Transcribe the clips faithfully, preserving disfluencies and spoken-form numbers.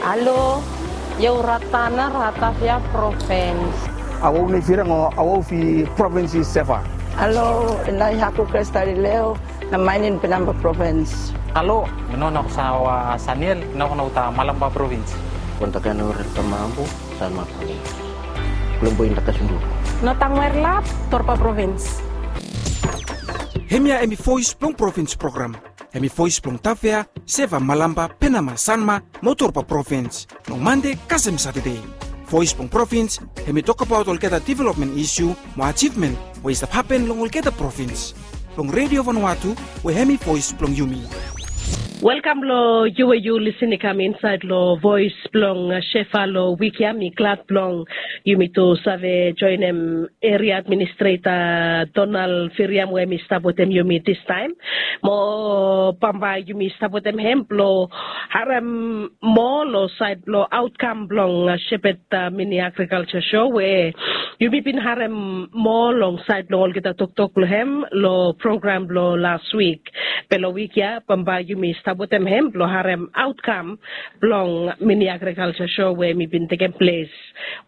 Alo, io Ratana, Ratavia Province. Awau nei firang o awau fi province i Seva. Alo, ina i haku Kresta Lileo, na mainin Penamba Province. Alo, mi no na sawa Saniel, no na uta Malamba Province. Kontakan ore tamambu, sama province. Belum boy na kasundu. No tangwer lap, Torpa Province. Hemia hemi voice blong province program. Hemi voice blong Tavea, Seva, Malamba, Penama, Sanma, mo Torpa Province. Long Mande kasem Satade. Voice blong province, hemi tokbaot olgeta development issue, mo achievement, we i stap hapen long olgeta province. Long Radio Vanuatu, we hemi voice blong yumi. Welkam lo yu we yu lisin i kam insaed lo voice blong, uh, Seva lo wik ya, mi glad blong yumi tu save joenem area administrator Donald Firiam we mi stap wetem yumi distaem. Mo bambae yumi stap wetem hem blo harem moa lo saed blo aotkam blong, uh, Shepherd, uh, Mini Agriculture Show we yumi bin harem moa long saed blo olgeta toktok blo hem lo program blo las wik. Be lo wik ya bambae yumi stap wetem hem blo harem aotkam blong Mini Agriculture Show we hemi bin tekem ples.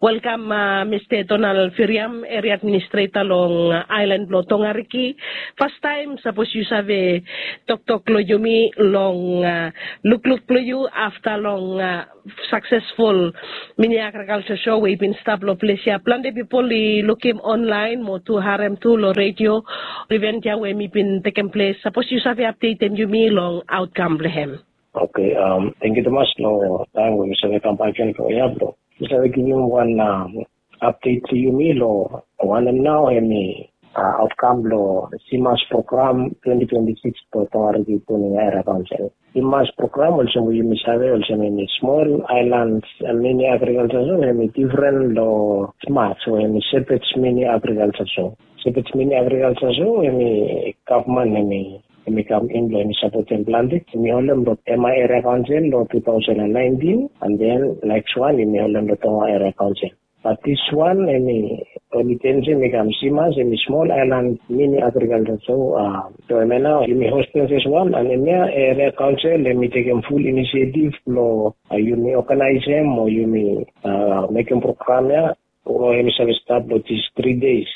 Welkam, uh, Mista Donald Firiam, area administrator long, uh, aelan blo Tongariki. Fastaem sapos yu save toktok lo yumi long, uh, lukluk blo yu afta long, uh, successful Mini Agriculture Show we i bin stap lo ples ya. Plante pipol i lukim online mo tu harem tu lo radio event ya we hemi bin tekem ples. Sapos yu save apdetem yumi long aotkam blo hem. Oke, um, tangkiu tumas lo taem we mi save kambak gen lo ya blo mi save givim wan, um, apdet tu yumi lo wanem nao hemi, uh, aotkam blo CMAS program twenty twenty-six blo Tongariki Boning Area Council. CMAS program olsem we yumi save olsem hemi Small Islands, uh, Mini Agriculture Zone, hemi difren lo SMAS we hemi Shepherd's Mini Agriculture Zone. Shepherd's Mini Agriculture Zone hemi gavman hemi Yumi kam in blo yumi sapotem plante. Yumi holem lo Tema Area Council lo two thousand and nineteen, and then next one yumi holem lo Tonga Area Council. But this one hemi oli tense hemi kam CMAS, hemi Small Island Mini Agriculture. So, uh, so hemia nao yumi hostem fes wan, and hemia Area Council hemi tekem full initiative blo, uh, yumi organizem o yumi, uh, mekem program ya. Blo hemi save stat lo this three days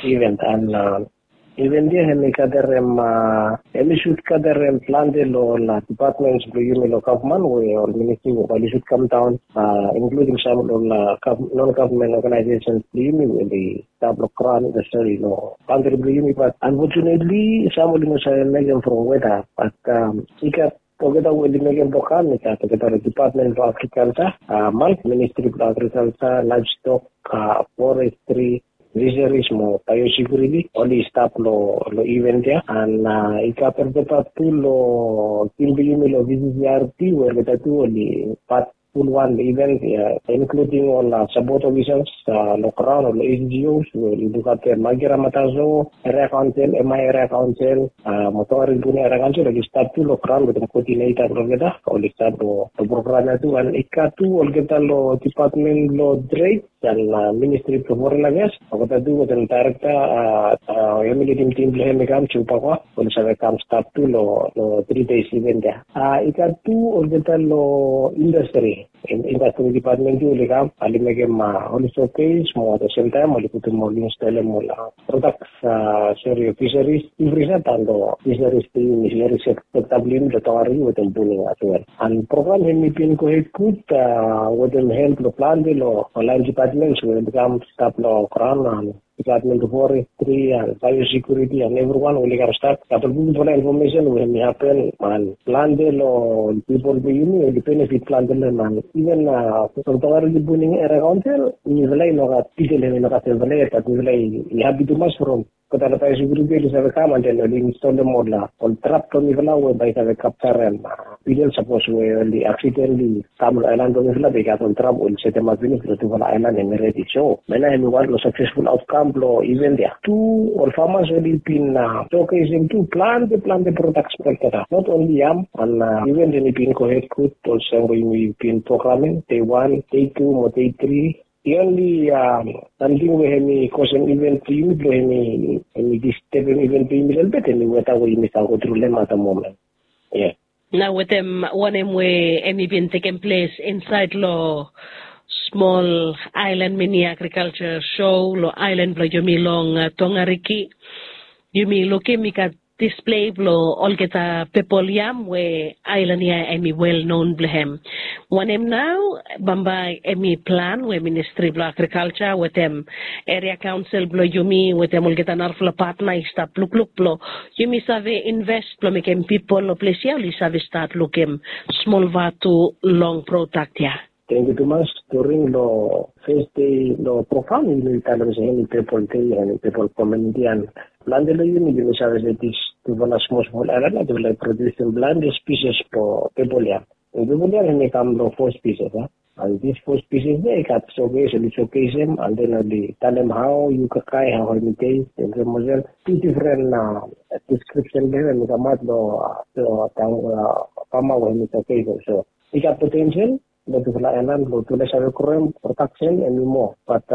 event, and, uh, event ya hemi gadarem, uh, hemi should gadarem plante lo ol, uh, departments blo yumi lo gavman we ol ministri we oli should kam daon, uh, including sam lo ol, uh, gov-, non-government organizations blo yumi we oli stap lo graon, uh, sorry, lo kantri blo yumi. But unfortunately sam oli no save mekem from weta. But, um, i gat olgeta we oli mekem program, i gat olgeta lo Department blo Agriculture, uh, Ministry blo Agriculture, Livestock, uh, Forestry, Fisheries mo Biosecurity, oli stap lo, lo event ya. And, uh, i gat olgeta tu lo tim blo yumi lo VCCRP we olgeta tu oli pat ful wan event ya, including ol, uh, support officers, uh, lo graon, ol NGOs we oli lukafta Magirama Taso Area Council, Tema Area Council, uh, mo Tongariki Boning Area Council, oli stap tu lo graon wetem coordinator blo olgeta, oli stap lo, lo program ya tu. And i gat tu olgeta lo Department lo Trade and, uh, Ministry blo Foreign Affairs, olgeta tu wetem director, uh, uh, hemi lidim tim blo hem i kam, Joe Pakwa, oli save kam stap tu lo, lo three days event ya. Uh, i gat tu olgeta lo industry, in-, industry department tu oli kam, oli mekem, uh, oli showcase mo at the same time oli putum, oli install-em ol, uh, products, uh, sorry, fisheries, every set and, uh, fisheries team, fisheries sek-, sector blo yumi lo Tongariki wetem Boning as well. And program hemi bin gohed gud, uh, wetem help lo plante lo, lo laen departments we oli kam stap lo graon, and Department of Forestry and Biosecurity and everyone oli kam stap. Gat ol bigfala infomesen we hemi hapen, and plante lo pipol blo yumi oli benefit plante lo hem. And even, uh, from Tongariki Boning Area Council, mifala i no gat detail, hemi no gat hemia, but mifala i, i hapi tumas from olgeta lo biosecurity oli save kam and then oli install-em ol, uh, ol trap blo mifala we bae i save kapjarem, uh, beetle sapos we oli accidentally kam lo aelan blo mifala, bae i gat ol trap oli setemap finis blo tufala aelan hemi redi. So hemia nao hemi wan lo successful outcome blo event ya. Tu ol farmers oli bin, uh, showcase-em tu plante, plante products blo olgeta. Not only yam, and, uh, event hemi bin gohed gud, olsem we yumi bin programem, day one, day two mo day three. The only, um, samting we hemi kosem event blo yumi blo hemi, hemi distebem event blo yumi lelebet, hemi weta we yumi stap go tru lo hem at the moment. Yeah. Na wetem wanem we em i bin tekem ples insaed long smol aelan mini agrikalsa show long aelan blong yumi long tongariki, yumi lukim i gat displei blong olgeta pepol yam we aelan ya em i wel non blong hem. Wanem nao bambae em i plan we ministri blong agrikalsa wetem eria kaonsel blong yumi wetem olgeta narafala patna i stap lukluk blong yumi save invest blong mekem pipol long ples ya oli save stat lukim smol vatu long prodak ya. Tengiu tumas. During long fes dei long program yumi talem se em i pepol dei em i pepol kominiti and plante long yumi yumi save se dis tufala smol smol aelan ya tufala i produsim plante spises blong pepol ya. And pepol ya em i kam long fo spises ya. And dis fo spises ya i gat showcase oli showcasem and then oli talem hao yu kakae hao em i test and olsem olsem tu difren deskripsen blong hem em i kamaot long fama we hem i showcasem so i gat potensel long tufala aelan blong tufala i save groem prodaksen em i moa. Bat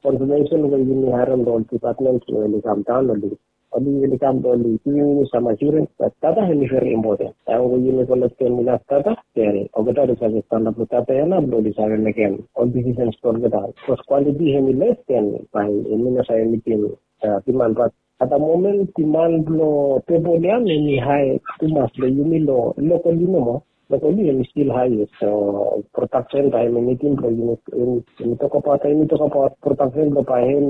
konfamesen we yumi harem long ol dipatmen we oli kam daon oli oli oli kam blong oli givim yumi sam asurens bat data em i veri impoten. Taem we yumi kolektem inaf data den olgeta oli save stanap long data ya nao blong oli save mekem ol disisens blong olgeta. Bikos kwantiti em i les den bae yumi no save mitim diman bat at da momen diman blong pepol ya em i hae tumas long yumi long lokoli nomo. Lokoli em i stil hae yet so prodaksen bae em i mitim blong yumi yumi tokabaot yumi tokabaot prodaksen blong bae em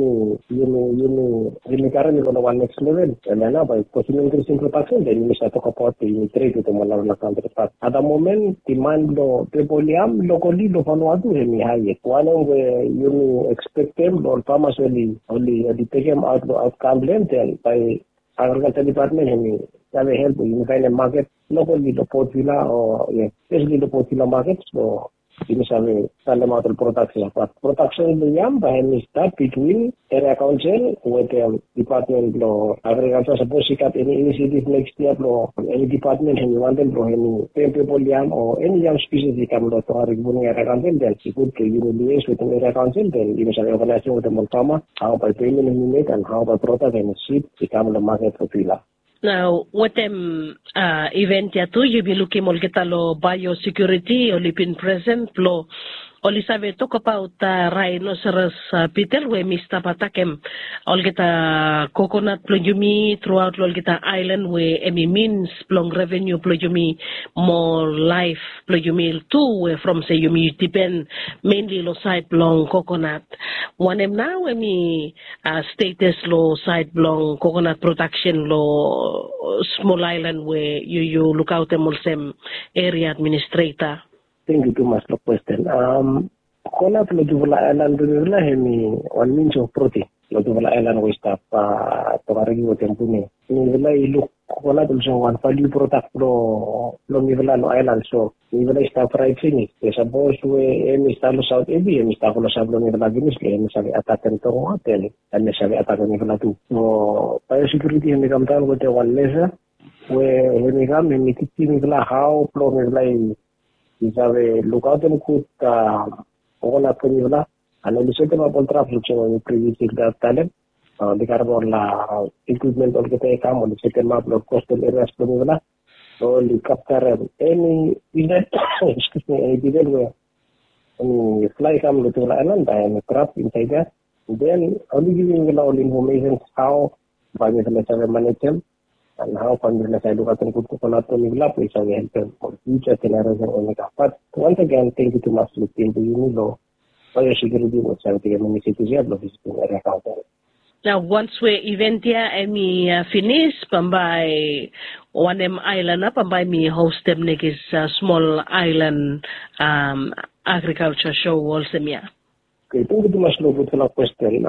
i yumi yumi yumi karem i go long wan neks level. Em ya nao bae bikos yumi inkrisim prodaksen den yumi save tokabaot blong yumi tred wetem wan narafala kantri bat at da momen diman blong pepol ya lokoli long fanua tu em i hae yet wanem we yumi ekspektem long ol famas oli oli oli tekem aot long aotkaem blong hem den bae agrikalsa dipatmen em i save help we yumi faenem maket lokoli long potvila o yes spesali long potvila maket so yumi save salemaot ol prodaksen ya bat prodaksen blong yam bae em i stat bitwin eria kaonsel wetem dipatmen blong agrikalsa sapos i gat eni inisiativ neks yia blong eni dipatmen em i wantem blong em i pem pepol yam o eni yam spises i kam long tongariki puning eria kaonsel den i gud blong yumi lies wetem eria kaonsel den yumi save oganaesem wetem ol fama hao bae pemen em i mek and hao bae prodak em i sip i kam long maket blong vila. Nao wetem iven ya tu yumi lukim olgeta long baeosekiuriti oli bin presen blong oli save tokabaot raenoseros bitel we em i stap atakem olgeta kokonat blong yumi truaot long olgeta aelan we em i mins blong revenu blong yumi mo laef blong yumi tu we from se yumi dipen menli long saed blong kokonat. Wanem nao em i stetes long saed blong kokonat prodaksen long smol aelan we yu yu lukaotem olsem eria administreta? Tengiu tumas long kwesten. Kokonat long tufala aelan blong mifala em i wan mins of proten long tufala aelan we i stap tongariki wetem pune. Mifala i luk kokonat olsem wan valiu prodak blong mifala long aelan so mifala i stap raet finis. Sapos we em i stap long saot epi em i stap long saot blong mifala finis blong em i save atakem tongo aten em i save atakem mifala tu. So baeosekiuriti em i kamdaon wetem wan mesa we em i kam em i tijim mifala hao blong mifala i save lukaotem gud kokonat blong mifala. And oli setemap ol trafik olsem we mi privius i talem. Oli karem ol ikwipmen olgeta i kam oli setemap long kostal erias blong mifala. Oli kaptarem eni divel, eni divel we eni flae i kam long tufala aelan bae eni trap insaed ya. Den oli givim mifala ol infomesens hao bae mifala i save manejem and hao bae mifala i save lukaotem gud kokonat blong mifala blong i save helpem ol fiuja jeneresen we oli kam. Bat wans agen tengiu tumas long tim blong yumi long baeosekiuriti we oli save tekem inisiativ ya blong visitim eria kaonsel. Nao wans we iven ya em i finis bambae wanem aelan nao bambae mi hostem nekis smol aelan agrikalsa sho olsem ya? Oke, tengiu tumas long gudfala kwesten.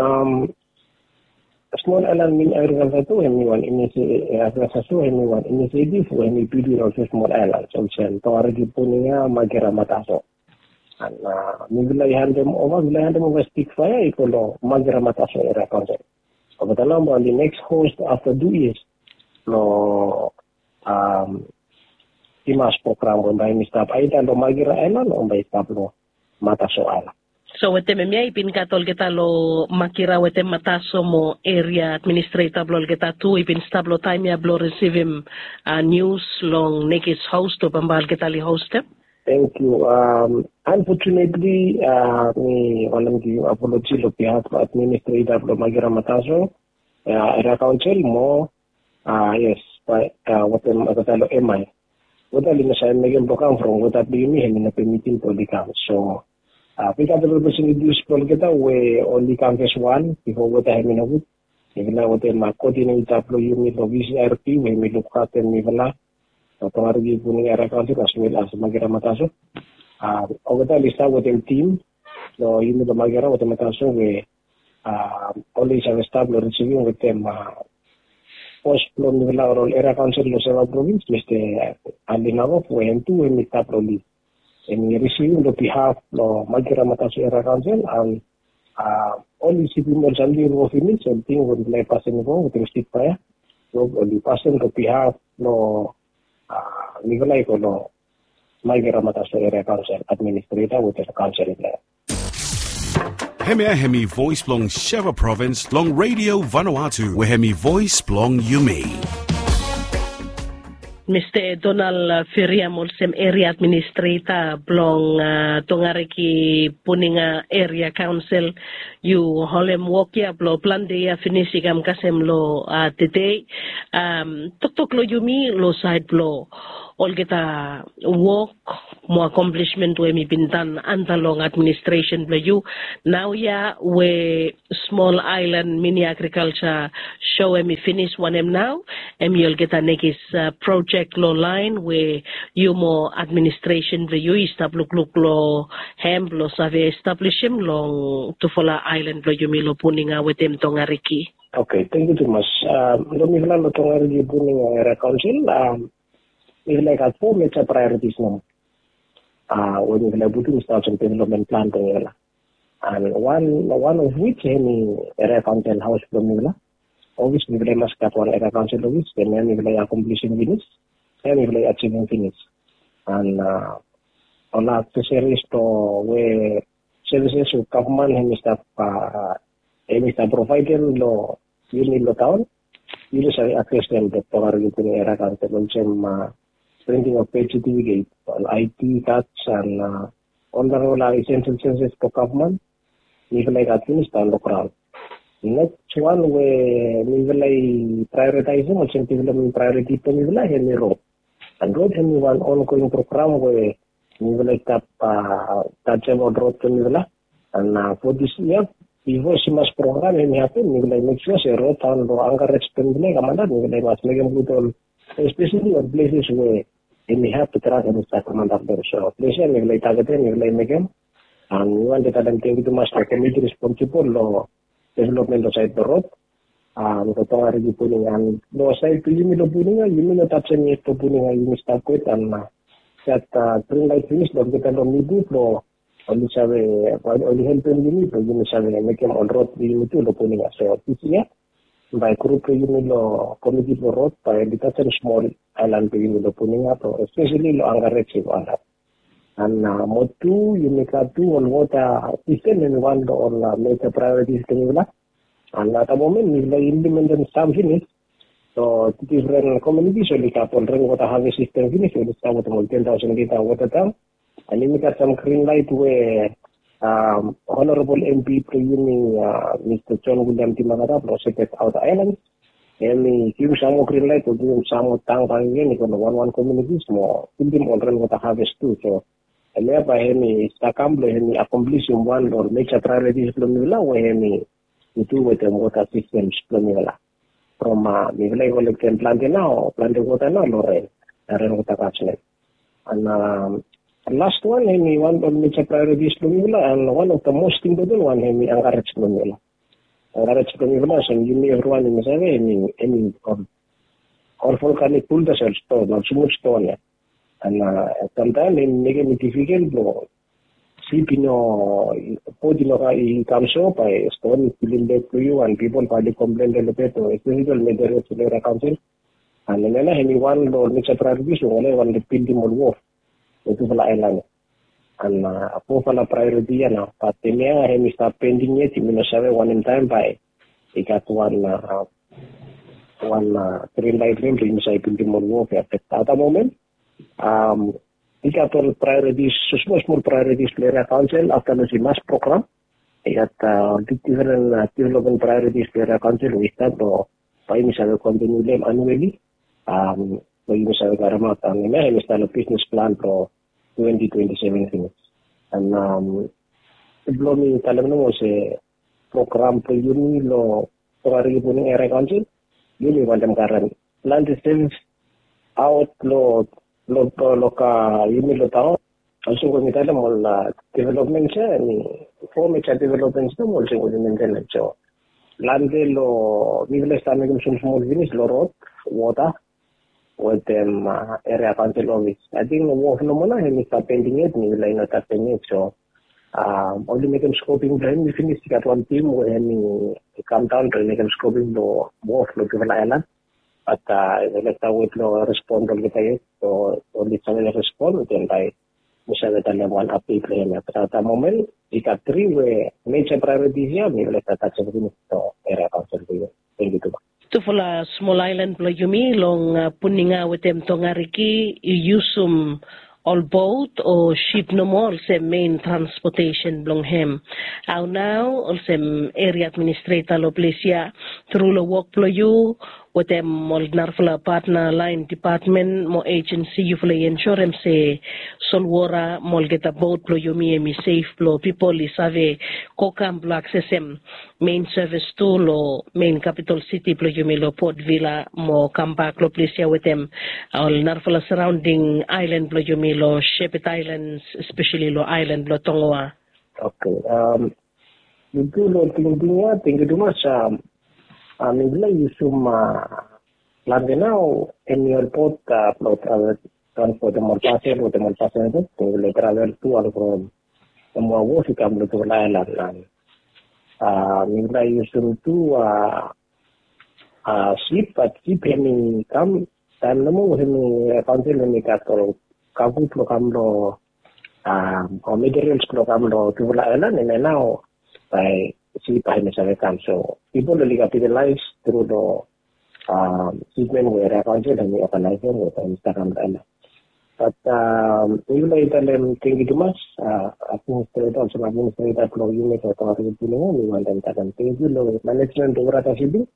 Smol aelan mini agrikalsa tu em i wan agrikalsa tu em i wan inisiativ we em i bildim olsem smol aelan olsem tongariki, punia, makera, mataso. And mifala i handem ova mifala i handem ova stik faea i go long makera, mataso eria kaonsel. Olgeta nao bae oli neks host afta tu yias long timas program we bae mi stap aeda long makera aelan o bae i stap long mataso aelan. So wetem hemia i bin gat olgeta long Magira wetem Mataso mo eria administreta blong olgeta tu i bin stap long taem ya blong risivim nius long nekis hos o bambae olgeta oli hostem. Thank you. Unfortunately, mi wantem givim apoloji long bihaf blong administreta blong Magira Mataso, eria kaonsel mo, yes, bae wetem olgeta long M I. Olgeta oli no save mekem blong kam from olgeta blong yumi hemi no pemitim blong oli kam. So bigfala blong blesing i blong olgeta we oli kam fes wan bifo olgeta hemi no gud. Mifala wetem koodineta blong yumi long V C R P we hemi lukaftem mifala long Tongariki Puninga Eria Kaonsel as well as Magira Mataso. Olgeta oli stap wetem tim long yumi long Magira wetem Mataso we oli save stap long risivim wetem bos blong mifala ol eria kaonsel long Seva provins, Mista Ali Nagov, we hem tu hemi stap long lid. Hemi risivim long bihaf blong Magira Mataso Eria Kaonsel, an oli risivim ol samting i go finis, ol ting we mifala i pasim i go wetem sitbaea. So oli pasim long bihaf blong mifala i go long Magira Mataso Eria Kaonsel administreta wetem kaonsel blong hem. Hemia hemi voes blong Seva provins long Redio Vanuatu we hemi voes blong yumi. Mista Donald Firiam olsem eria administreta blong Tongariki Puninga Eria Kaonsel, yu holem wok ya blong plante yia finis i kam kasem long tede. Toktok long yumi long saed blong olgeta wok mo akomplisimen we hemi bin tan anta long administresen blong yu. Naoia we smol aelan mini agrikalja so hemi finis wanem nao, hemi olgeta nekis projek long laen we yu mo administresen blong yu i stap lukluk long hem blong save establisim long tufala aelan blong yumi long Puninga wetem Tongariki. Oke, tangkiu tumas. Long mifala long Tongariki Puninga Eria Kaonsel, mifala i gat fo meja praeoritis nomo we mifala i putum i stap olsem developmen plan blong mifala. An wan of wij hemi eria kaonsel haos blong mifala. Ofis mifala i mas gat wan eria kaonsel ofis, hemia mifala i akomplisim finis, hemia mifala i ajivim finis. An ol akseseris blong we sevises we gavman hemi stap hemi stap provaedem long yumi long taon, yumi save aksesem long Tongariki Puninga Eria Kaonsel, olsem printing of birth certificate, ol I D cards an ol narafala esensel sevises blong gavman. Mifala i gat finis daon long graon. Neks wan we mifala i praeoritaesem olsem developmen praeoriti blong mifala hemi rod. An rod hemi wan ongoing program we mifala i stap tajem ol rod blong mifala. An fo dis yia, bifo Simas program hemi hapen, mifala i mek sua se rod daon long ankarej blong mifala i kam antap, mifala i mas mekem gud ol, espeseli ol pleses we hemi hap blong trak hemi stap kam antap long. So ples ya mifala i tagetem, mifala i mekem. An mi wantem talem tangkiu tumas long komiti responsibol long developmen long saed blong rod long Tongariki Puninga. An long saed blong yumi long Puninga, yumi no tajem yet long Puninga, yumi stap wet an gat grin laet finis long olgeta long Mipu blong oli save, oli helpem yumi blong yumi save mekem ol rod blong yumi tu long Puninga. So dis yia bae grup blong yumi long komiti blong rod bae oli tajem smol aelan blong yumi long Puninga, espeseli long ankarej i go antap. An mo tu yumi gat tu ol wota sistem hemi wan long ol meja praeoritis blong mifala. An at da momen mifala i implementem sam finis. So difren komunitis oli gat ol renwota haves sistem finis, oli stap wetem ol ten taosen lita wota tank. An yumi gat sam grin laet we Honorabol M P blong yumi, Mista John William Dimakata blong Sepet Aota Aelan, hemi givim sam moa grin laet blong givim sam moa tank bakegen i go long wanwan komunitis mo bildim ol renwota haves tu. So hemia bae hemi stap kam blong hemi akomplisim wan long ol meja praeoritis blong mifala we hemi tu wetem wota sistems blong mifala. From mifala i kolektem plante nao, plante wota nao long ren, renwota kasnem. An last wan hemi wan long meja praeoritis blong mifala an wan of da mos impoten wan hemi ankarej blong mifala. Ankarej blong mifala olsem yumi evriwan yumi save hemi, hemi ol volkanik buldas, ol ston, ol smul ston ya. An samtaem hemi mekem i difikel blong sip i no, bot i no kam, i kam so bae ston i pulim bek blong yu an pipol bae oli komplen lelebet o espeseli ol meja rod blong eria kaonsel. An hemia nao hemi wan long ol meja praeoritis we oli wantem bildim ol wof long tufala aelan ya. An fofala praeroti ya nao, bat hemia hem i stap pending yet, yumi no save wanem taem bae i gat wan wan grin laet blong hem blong yumi save bildim ol wok ya. Bat at da momen i gat ol praerotis, smol smol praerotis blong eria kaonsel afta long se mas program. I gat ol big diferen development praerotis blong eria kaonsel we i stap long bae yumi save kontiniu long hem anueli, blong yumi save karemaot. An hemia hem i stap long bisnes plan blong twenti twenti seven finis. An blong mi talem nomo se program blong yumi long Tongariki Puninga Eria Kaonsel, yumi wantem karem plante sevis aot long long long long ka yumi long taon. Olsem we mi talem ol developments ya, hemi fo meja developments nomo olsem we mi mentenem. So plante long mifala i stap mekem smol smol finis long rod, wota, wetem eria kaonsel ofis. Ating wof nomo nao hemi stap pending yet, mifala i no stap pending yet. So oli mekem skoping blong hem i finis, i gat wan tim we hemi kam daon blong mekem skoping blong wof long tufala aelan. Bat mifala i stap wet long respon blong olgeta yet. So oli save respon den bae mi save talem wan apdet blong hem ya. Bat at da momen i gat tri we meja praerotis ya mifala i stap tajem finis long eria kaonsel blong yumi. Tufala smol aelan blong yumi long Puninga wetem Tongariki i yusum ol bot o sip nomo olsem mein transpotesen blong hem. Hao nao olsem eria administreta long ples ya, tru long wok blong yu wetem ol narafala patna laen depatmen mo ejensi, yufala i ensurem se solwota mo olgeta bot blong yumi hemi sef blong pipol i save go kam blong aksesem mein sevis tu long mein kapitol siti blong yumi long Port Vila mo kambak long ples ya wetem ol narafala saraonding aelan blong yumi long Sheped Aelans, espeseli long aelan blong Tongoa. Oke. Yu tu long tingting ya, tangkiu tumas. Mifala i yusum plante nao hemi ol bot blong travel, transpotem ol pasel wetem ol pasel, mifala i travel tu ol from Tongoa wof i kam long tufala aelan. Mifala i yusum tu sip, bat sip hemi kam taem nomo we hemi kaonsel hemi gat ol kago blong kam long o materials blong kam long tufala aelan, hemia nao bae sip bae hemi save kam. So pipol oli kapitalaes tru long sipmen we eria kaonsel hemi oganaesem we bae hemi stap kam long aelan. Bat mifala i talem tangkiu tumas administreta, olsem administreta blong yumi long Tongariki Puninga, mi wantem talem tangkiu long manejmen blong Waratah Shipping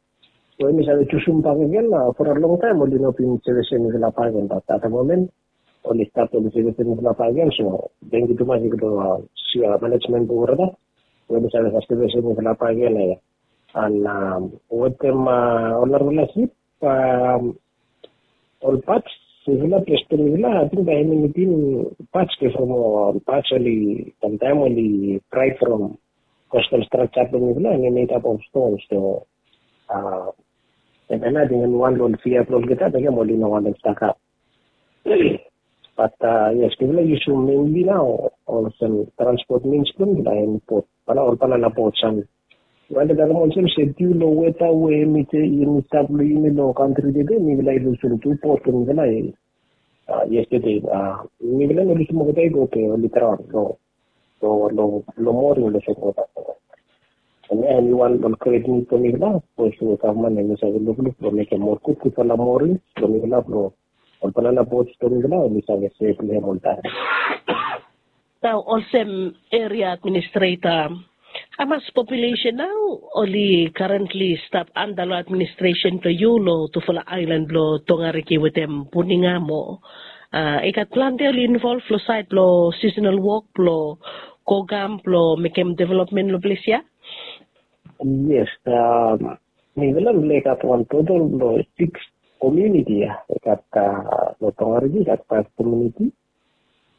we hemi save jusum bakegen. For a long taem oli no bin sevisem mifala bakegen, bat at da momen oli stap, oli sevisem mifala bakegen. So tangkiu tumas i go long manejmen blong Waratah we oli save sevisem mifala bakegen ya. An wetem ol narafala sip, ol pats, mifala, ples blong mifala, ating bae hemi nidim pats bifo, mo pats oli, samtaem oli praet from kostal strakja blong mifala, hemi medap of stons. So hemia nao ating hemi wan long ol fia blong olgeta, mekem oli no wantem stakap. Bat yes, mifala i yusum menli nao olsem transpot mins blong mifala hemi bot, bana ol banana bots. An wantem talem olsem se, diu long weta we hemi stap long yumi long kantri tede, mifala i lusum tu bot blong mifala yestede. Mifala i no lusum olgeta i go, be oli draon long long long moring long sefwota. Hemia hemi wan long gret nid blong mifala, sapos we gavman hemi save lukluk blong mekem moa gudgudfala moring blong mifala, blong ol banana bots blong mifala oli save sef long hem oltaem. Nao olsem eria administreta, hamas populesen nao oli karentli stap anda long administresen blong yu long tufala aelan blong Tongariki wetem Puninga mo i gat plante oli involv long saed blong sisonal wok blong go kam blong mekem developmen long ples ya? Yes, mifala mifala i gat wan totol blong siks komuniti ya. I gat long Tongariki i gat faef komuniti.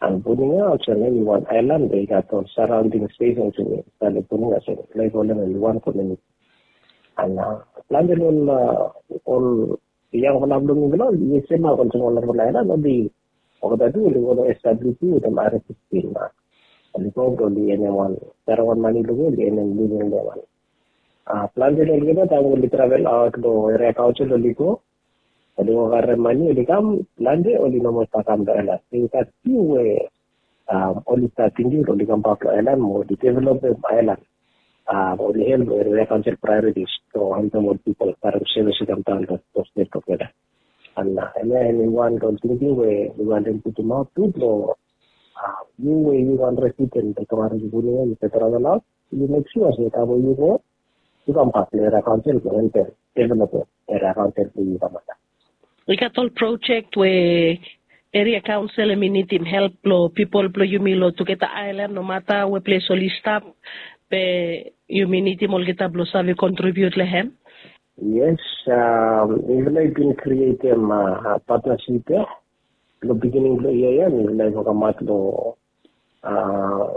An Puninga olsem hemi wan aelan we i gat ol saraonding stesens we i stap long Puninga, so mifala i kolem hemi wan komuniti. An plante long ol yangfala blong mifala oli yesem olsem ol narafala aelan, oli olgeta tu oli go long S W P wetem R S S P. Oli go blong oli enem wan, saraon wan mane long oli enem living long wan. Plante long olgeta taem oli travel aot long eria kaonsel oli go, oli go karem mane oli kam, plante oli no moa stap kam long aelan. I gat fiu we Oli stap tingting blong oli kambak long aelan mo oli developem aelan. Oli help long eria kaonsel praeoritis blong helpem ol pipol karem sevis i kam daon long stet tugeta. An hemia hemi wan long tingting we mi wantem putumaot tu blong yu we yu wan residen blong Tongariki Puni ya, yu travel aot, yu mek sua se taem we yu go, yu kambak long eria kaonsel blong helpem developem eria kaonsel blong yu kambak. I gat ol projek we eria kaonsel hemi nidim help blong pipol blong yumi long tugeta aelan, nomata we ples oli stap, be yumi nidim olgeta blong save kontribiut long hem. Yes, mifala i bin krietem patnasip ya. Long bigining blong yia ya mifala i wokemaot long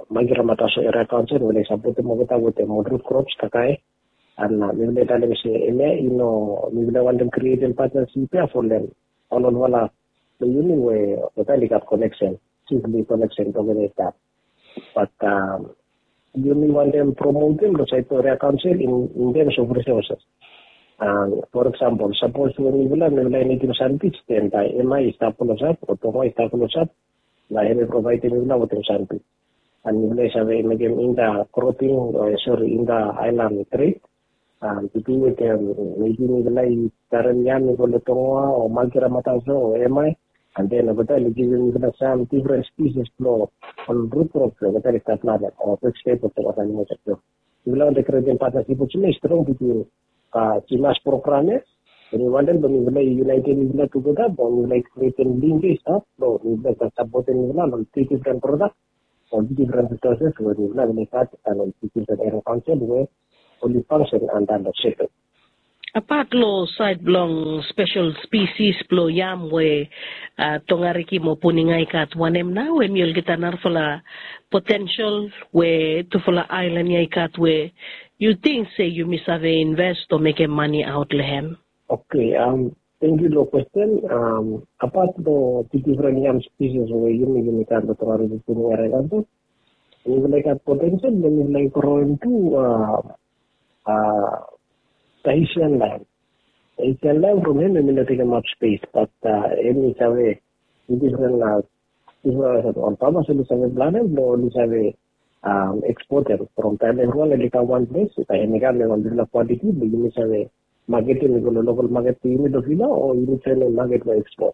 Magira Mataso Eria Kaonsel we oli sapotem olgeta wetem ol rut krops kakae. An mifala i talem se hemia i no, mifala i wantem krietem patnasip ya folem ol olfala blong yumi we olgeta oli gat koneksen, sikli koneksen blong olgeta i stap. Bat yumi wantem promotem long saed blong eria kaonsel in terms of resources. For example, sapos we mifala mifala i nidim sandbij, den bae hemia i stap klosap o Tonga i stap klosap, na hemi provaedem mifala wetem sandbij. An mifala i save mekem inta cropping, sori, inta aelan tred. An tu wetem, mebi mifala i karem yam i go long Tonga o Magira Mataso o hemia, an den olgeta oli givim mifala sam difren spisis blong ol rut krop blong olgeta oli stap planem o vejetebol blong olgeta oli stap. Mifala wantem krietem patnasip olsem ya i strong bitwin Simas program ya. Hemi wantem blong mifala i yunaetem mifala tugeta blong mifala i krietem link ya i stap blong mifala i sapotem mifala long difren prodak o difren risoses we mifala oli gat long difren eria kaonsel we oli fangsen anda long setel. Apat long saed blong spesel spisis blong yam we Tongariki mo Puninga i gat, wanem nao hemi olgeta narafala potensel we tufala aelan ya i gat we yu ting se yumi save invest o mekem mane aot long hem? Oke, tangkiu long kwesten. Apat long difren yam spisis we yumi, yumi gat long Tongariki Puninga eria kaonsel, mifala i gat potensel blong mifala i groem tu Tahitian lime. Tahitian lime from hem hemi no tekemaot spes, bat hemi save, difren, difren ol famas oli save planem blong oli save ekspotem from taem evriwan oli kam wan ples, bae hemi kam long wan bigfala kwantiti blong yumi save maketem i go long lokal maket blong yumi long vila o yumi joenem maket blong ekspot.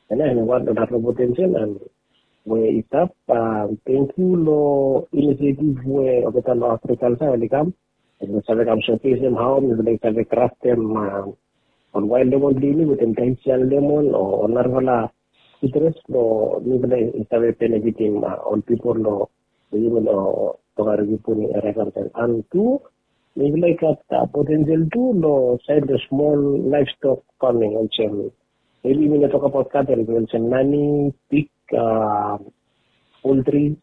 Hemia hemi wan long narafala potensel we i stap. Tangkiu long inisietif we olgeta long agrikalja oli kam, oli save kam sokesem hao mifala i save kraftem ol wael lemon blong yumi wetem Tahitian lemon o ol narafala sitres blong mifala i save benefitim ol pipol blong yumi long Tongariki Puni eria kaonsel. An tu mifala i gat potensel tu long saed blong smol laevstok faming olsem, mebi yumi no tokbaot katel be olsem nani, pig, poltri,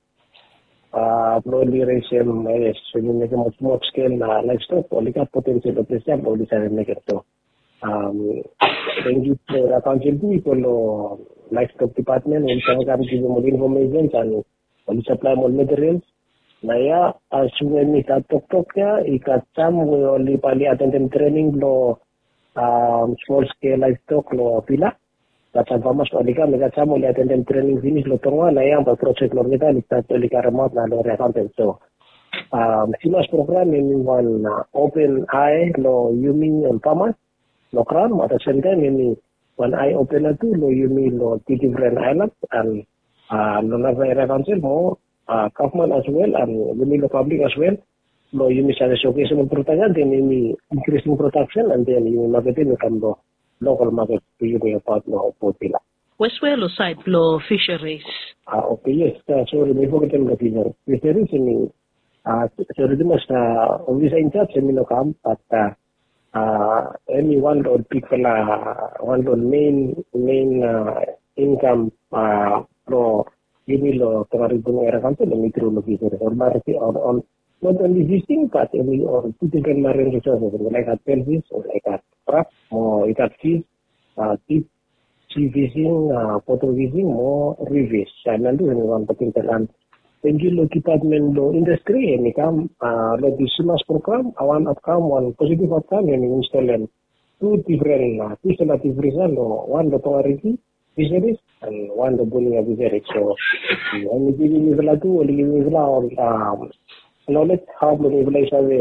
blong oli resem, yes, oli mekem ol smol skel laevstok, oli gat potensel long ples ya blong oli save mekem so. Tangkiu long eria kaonsel tu i go long laevstok dipatmen we oli save kam givim ol infomesens an oli saplaem ol materials. Naoia as we mi stap toktok ya, i gat sam we oli bae oli atendem trening blong smol skel laevstok long vila. Gat sam famas oli kam, i gat sam oli atendem trening finis long Tonga, naoia bae projek blong olgeta oli stat, oli karemaot nao long eria kaonsel. So Simas program hemi wan open ae long yumi ol famas long graon, mo at the same time hemi wan ae opena tu long yumi long difren aelan an long narafala eria kaonsel mo gavman as wel an yumi long pablik as wel, blong yumi save sokesem ol prodak ya, den yumi inkrising prodaksen an den yumi maketem i kam long lokal maket blong yumi abaot long Port Vila. Wes we long saed blong fisheries? Oke, yes, sori, mi fogetem long fisheries. Fisheries hemi, sori tumas, ofisa injaj hemi no kam, bat hemi wan long ol bigfala, wan long ol mein, mein inkam blong yumi long Tongariki Puni eria kaonsel, hemi tru long fisheries. Ol marine, ol, ol, not only fishing, bat hemi ol tu difren marine resources, hemi laik gat shellfish, hemi laik gat crab, mo i gat fish, deep sea fishing, bottom fishing mo reef fish. Hemia tu hemi wan potensel an tangkiu long dipatmen blong indastri, hemi kam long dis Simas program, wan aotkam, wan positif aotkam, hemi instolem tu difren, tu sola deep freezer long, wan long Tongariki fisheries and wan long boning of fisheries. So hemi givim mifala tu, oli givim mifala ol knowledge hao blong mifala i save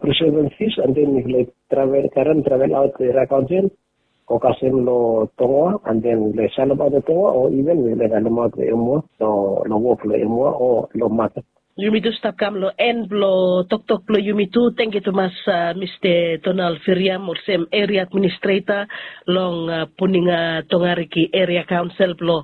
preserve fish, and then mifala i travel, karem travel aot long eria kaonsel, go kasem long Tongoa, and then mifala i salemaot long Tongoa, o even mifala i salemaot long Emua, long wok long Emua o long maket. Yumi tu stap kam long en blong toktok blong yumi tu. Tangkiu tumas, Mista Donald Firiam, olsem eria administreta long Puninga Tongariki Eria Kaonsel blong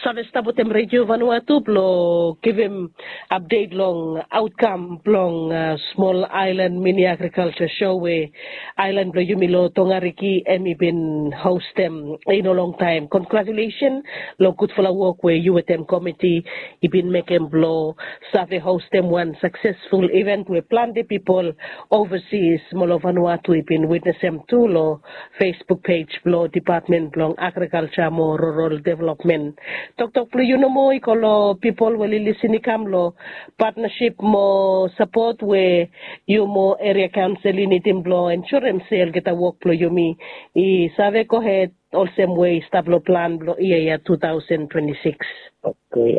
save stap wetem Redio Vanuatu blong givim apdet long aotkam blong smol aelan mini agrikalja sho we aelan blong yumi long Tongariki hemi bin hostem i no longtaem. Kongrajulesen long gudfala wok we yu wetem komiti i bin mekem blong save hostem wan saksesful iven we plante pipol ovasis mo long Vanuatu i bin witnesem tu long Facebook pej blong Depatmen blong Agrikalja mo Rural Developmen. Toktok blong yu nomo i go long pipol we oli lisin i kam long patnasip mo sapot we yu mo eria kaonsel i nidim blong ensurem se olgeta wok blong yumi i save gohed olsem we i stap long plan blong yia ya tu taosen twenti sikis. Oke,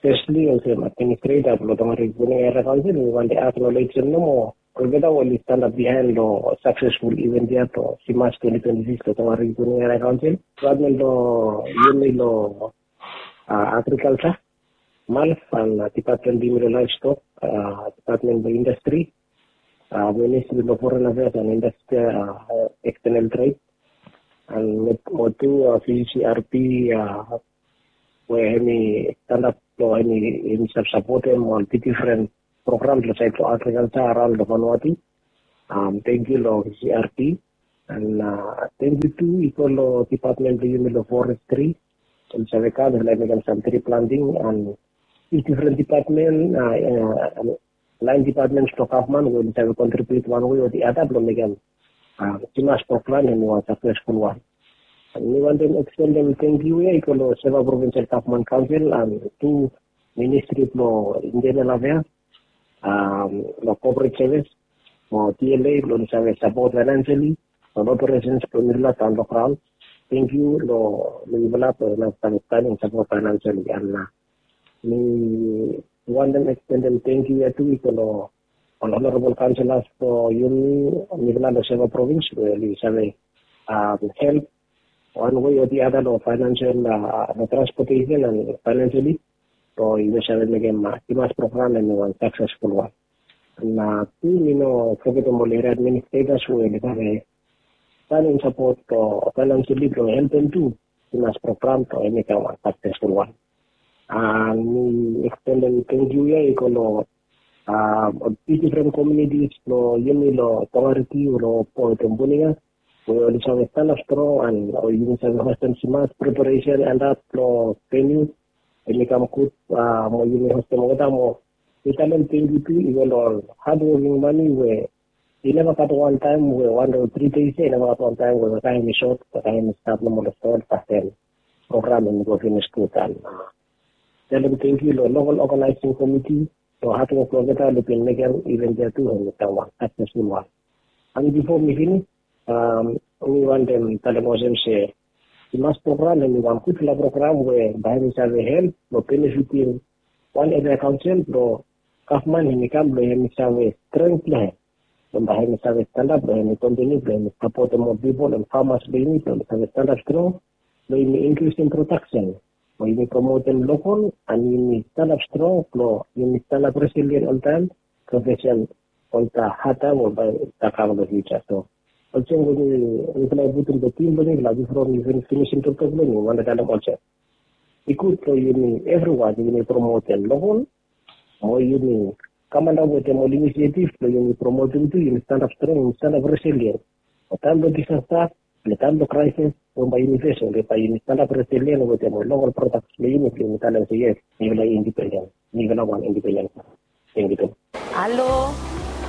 fesli olsem administreta blong Tongariki Puninga Eria Kaonsel, mi wantem aknolejem nomo olgeta we oli stanap biaen long saksesful iven ya blong Simas twenti twenti sikis long Tongariki Puninga Eria Kaonsel. Depatmen blong yumi long agrikalja, MALF, and depatmen blong yumi long laevstok, depatmen blong indastri, ministri blong foren afeas and indastri, ekstenel tred, and mo tu VCCRP we hemi stanap blong hemi save sapotem ol difren program long saed blong agrikalja araon long Vanuatu. Tangkiu long VCCRP, and tangkiu tu i go long depatmen blong yumi long forestri. Oli save kam, oli save mekem sam tri planting, and difren depatmen, laen depatmens blong gavman we oli save kontribiut wan wei o the other blong mekem Simas program hemi wan saksesful wan. Mi wantem ekstendem tangkiu ya i go long Seva Provinsel Gavman Kaonsel and tu ministri blong intenel afeas, long kopret sevis, mo TLA blong oli save sapot faenansiali long operesens blong mifala daon long graon. Tangkiu long mifala blong oli save kam and sapot faenansiali. And mi wantem ekstendem tangkiu ya tu i go long ol honorabol kaonselas blong yumi, mifala long Seva Provins we oli save help wan wei o the other long faenansial, long transpotesen and faenansiali blong yumi save mekem Simas program hemi wan saksesful wan. And tu mi no fogetem ol eria administretas we oli save kam and sapot faenansiali blong helpem tu Simas program blong hemi kam wan saksesful wan. And mi ekstendem tangkiu ya i go long ol difren komunitis blong yumi long Tongariki o long Puninga we oli save stanap strong and yumi save hostem Simas preparesen and ap blong veniu hemi kam gud mo yumi hostem olgeta mo mi talem tangkiu tu i go long ol hadwoking mani we i neva gat wan taem we wan o tri deis ya, i neva gat wan taem we wota hemi sot, wota hemi stap nomo long sot, fasten program hemi go finis gud. And talem tangkiu long lokol oganaesing komiti long hadwok blong olgeta oli bin mekem iven ya tu hemi kam wan saksesful wan. And bifo mi finis, mi wantem talem olsem se Simas program hemi wan gudfala program we bae hemi save help blong benefitim wan eria kaonsel blong gavman hemi kam blong hemi save strength blong hem blong bae hemi save stanap blong hemi kontiniu blong hemi sapotem ol pipol and famas blong yumi blong oli save stanap strong blong yumi inkrisim prodaksen blong yumi promotem lokol and yumi stanap strong blong yumi stanap resilien oltaem blong fesem ol had taem we bae i kam long fiuja. So olsem we mifala i putum long tim blong mifala bifo mi finisim toktok blong mi, mi wantem talem olsem i gud blong yumi evriwan yumi promotem lokol mo yumi kam antap wetem ol inisiatif blong yumi promotem tu, yumi stanap strong, yumi stanap resilien. Long taem blong disasta, long taem blong kraesis we bae yumi fesem, bae yumi stanap resilien wetem ol lokol prodaks blong yumi, blong yumi talem se yes, mifala i indipenden, mifala wan indipenden. Tangkiu tu. Halo,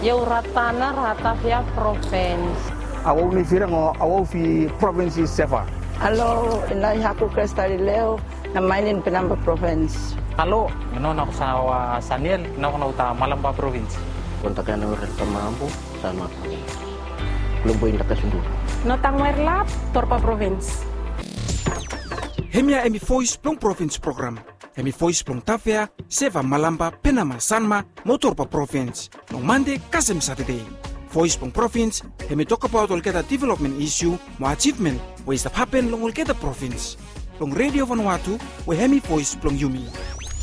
ia u Ratana, Ratavia Provins. Awawi Firang o Awawi Provins i Seva. Halo, i nai haku Krestalileo, na mainin Penamba Provins. Halo, mi no na kusawa Saniel, na kuna uta Malamba Provins. Kontakana ure tamabu, sama Provins. Kulumbu inda kasundu. No tangwer lap, Torpa Provins. Hemia hemi voes blong provins program. Hemi voes blong Tafea, Seva, Malampa, Penama, Sanma mo Torba provins, long Mande kasem Satade. Voes blong provins hemi tokbaot olgeta developmen isiu mo ajivmen we i stap hapen long olgeta provins, long Redio Vanuatu, we hemi voes blong yumi.